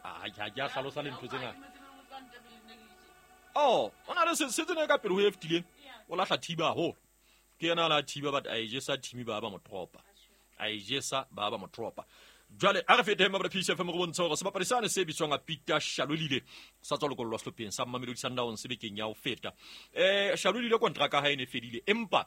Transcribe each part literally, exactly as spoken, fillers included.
a ke a hlalosa le ntho tse ngata. Oh, o na le se se tsene ka pele ho e fetileng. O lahla thiba haholo. Ke yena a la thiba but a e jesa team ba ba mo tropa. A e jesa ba ba mo tropa. Jwale a re fete mabra P C F M go bontsha hore sebapadi sane se bitswang Peter Shalulile sa tswa lokollwa sehlopheng sa Mamelodi Sundowns bekeng ya ho feta. Eh Shalulile kontraka ha e ne fedile empa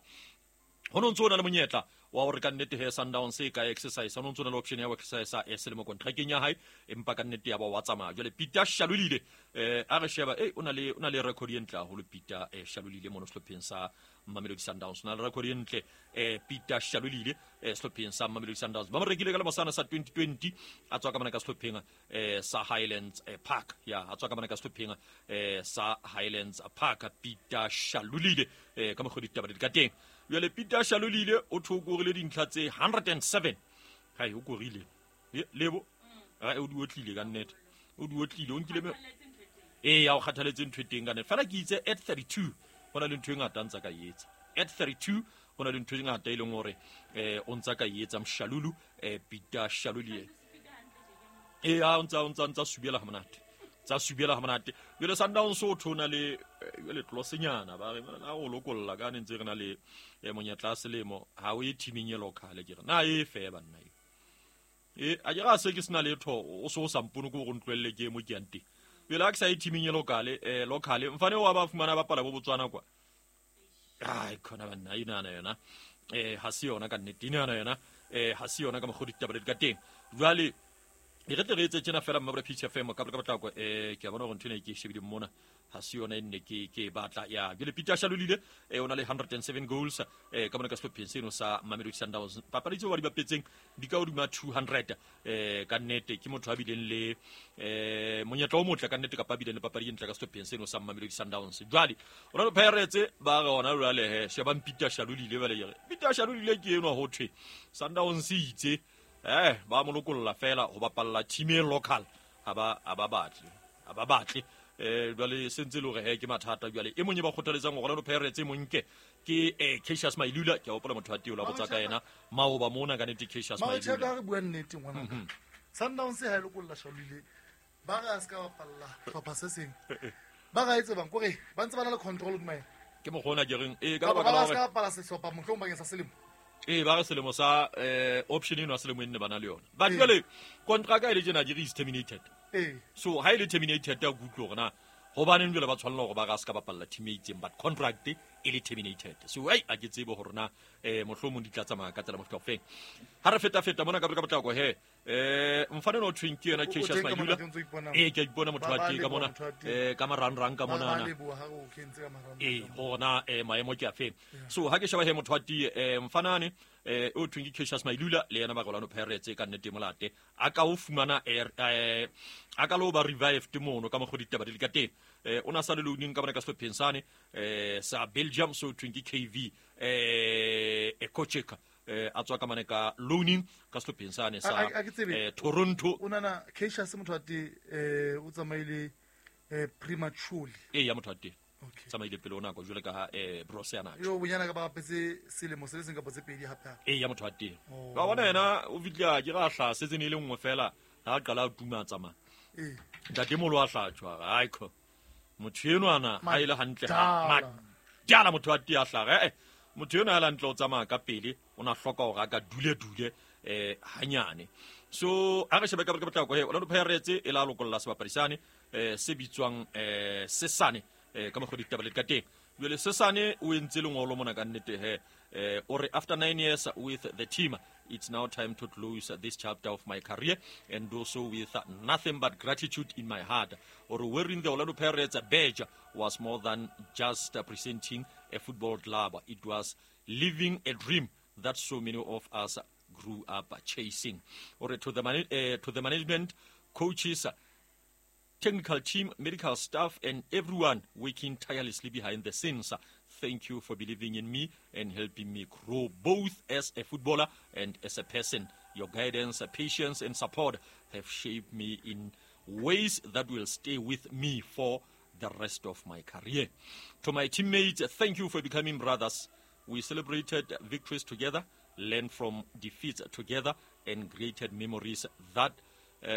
ho no ntso na le monyetla wa hore ka nnete he Sundowns e ka exercise ho no ntso na le option ya ho exercise e selemo kontrakeng ya hae empa ka nnete ya ba wa tsamaya. Jwale Peter Shalulile eh a re sheba eh o na le o na le record e ntle haholo Peter eh Shalulile mono sehlopheng sa Mamelodi Sundowns. Na le record e ntle eh Peter Shalulile eh sehlopheng sa Mamelodi Sundowns. Ba mo rekile ka lemosana sa twenty twenty a tswa ka mona ka sehlopheng eh sa Highlands eh, Park. Ya a tswa ka mona ka sehlopheng eh sa Highlands Park Peter Shalulile eh ka mokgwa ditaba di ka teng. Jwale Peter Shalulile o thokorile dintlha tse hundred and seven. Hai o korile. Lebo a o di otlile ka nnete. O di otlile o nkile me eh ya o kgathaletse ntho e teng ka nnete. Fela ke itse at thirty-two hona le ntho e ngata ntsa ka etsa. At thirty-two hona le ntho e ngata e leng hore eh o ntsa ka etsa Mshalulu eh Peter Shalulile. Eh a o ntsa o ntsa ntsa subela ha monate. Tsa subela ha monate. Jwale Sundowns o thona le jwale tlosenyana ba re na o lokolla ka ne ntse re na le monyetla selemo ha o e teaming e local ke re na e fe banna e. E a ke ra se ke sena letho o so o sa mpone go go ntlwelle ke mo ke yang teng. Jwale ha ke sa e teaming e local eh local mfane wa ba fumana ba pala bo Botswana kwa. Ai khona banna ina na yona eh ha se yona ka nnete ina na yona eh ha se yona ka mokgwa ditaba di ka teng. Jwale e re tle re etse tjena fela mma P C F M ka ka potlako eh ke a bona hore ntho ena ke shebile mona ha se yona e nne ke ke batla ya jwale Peter Shalulile eh o na le hundred and seven goals eh ka mona ka sehlopheng seno sa Mamelodi Sundowns. Papadi tseo ba di bapetseng di ka hodima two hundred eh ka nnete ke motho a bileng le eh monyetla o motle ka nnete kapa bileng le papadi e ntle ka sehlopheng seno sa Mamelodi Sundowns. Jwale Orlando Pirates ba re hona jwale he shebang Peter Shalulile ba le re Peter Shalulile ke enwa ho thwe Sundowns itse eh ba mo lokolla fela ho bapalla team e local ha ba ha ba batle ha ba batle eh jwale sentse le hore he ke mathata jwale e monye ba kgothaletsang hore Orlando Pirates e monke ke eh Cassius Mailula ke a hopola motho wa teng o la botsa ka yena maoba mona ka nnete Cassius Mailula ma re bua nnete ngwana Sundowns ha e lokolla Shalulile ba re a ska bapalla hlopha se seng ba ga etse bang kore ba ntse ba na le control hodima yena ke mogona ke reng eh ka ba baka la ba hore ska bapalla sehlopha mohlomong bakeng sa selemo eh ba re selemo sa eh option eno selemo enne bana le yona but jwale contract e le tjena ke is terminated eh so ha ile terminated ya kutlwe hore na hobaneng jwale ba tshwanela hore ba ga ska bapalla team e itseng but contract e le terminated so ai a ke tsebe hore na eh mohlomong di tla tsamaya ka tsela mofuta ofeng ha re feta feta mona ka ka potlako he eh mfane no twin ke yena Cassius Mailula eh ke ipona motho wa teng ka mona eh ka marangrang ka mona na eh hona eh maemo ke a feng so ha ke sheba he motho wa teng eh mfanane eh o twin ke Cassius Mailula le yena ba Orlando Pirates ka nnete molate a ka o fumana eh a ka lo ba revived mono ka mokgwa ditaba di le ka teng eh ona sa le loaning ka bona ka sehlopheng sane eh sa Belgium so twin ke K V eh e coacheka eh a tswa ka mane ka loaning ka sehlopheng sane sa eh Toronto o nana Cassius motho wa teng eh o tsamaile eh prematurely eh ya motho wa teng tsamaile pele ona go jwale ka eh Brose yana yo bonyana ka ba bapetse selemo se le seng kapa tse pedi hape eh ya motho wa teng ba bona yena o fitla ke ga hla se tsene le nngwe fela ha qala a tuma tsamaya eh ntate molo a hlatshwa ai kho motho enwana ha ile hantle ha jala motho wa teng a hlaga eh motho enwa a la ntle o tsamaya ka pele o na hloka hore a ka dule dule eh hanyane so a re shebe ka ka potlako he Orlando Pirates e la lokolla sebapadi sane eh se bitswang eh Sesane eh ka mokgwa ditaba le ka teng jwale Sesane o entse lengolo mona ka nnete he eh o re after nine years with the team it's now time to close this chapter of my career and do so with nothing but gratitude in my heart. Or wearing the Orlando Pirates badge was more than just presenting a football club. It was living a dream that so many of us grew up chasing. Or to the, man- uh, to the management, coaches, technical team, medical staff, and everyone working tirelessly behind the scenes. Thank you for believing in me and helping me grow both as a footballer and as a person. Your guidance, patience, and support have shaped me in ways that will stay with me for the rest of my career. To my teammates, thank you for becoming brothers. We celebrated victories together, learned from defeats together, and created memories that uh,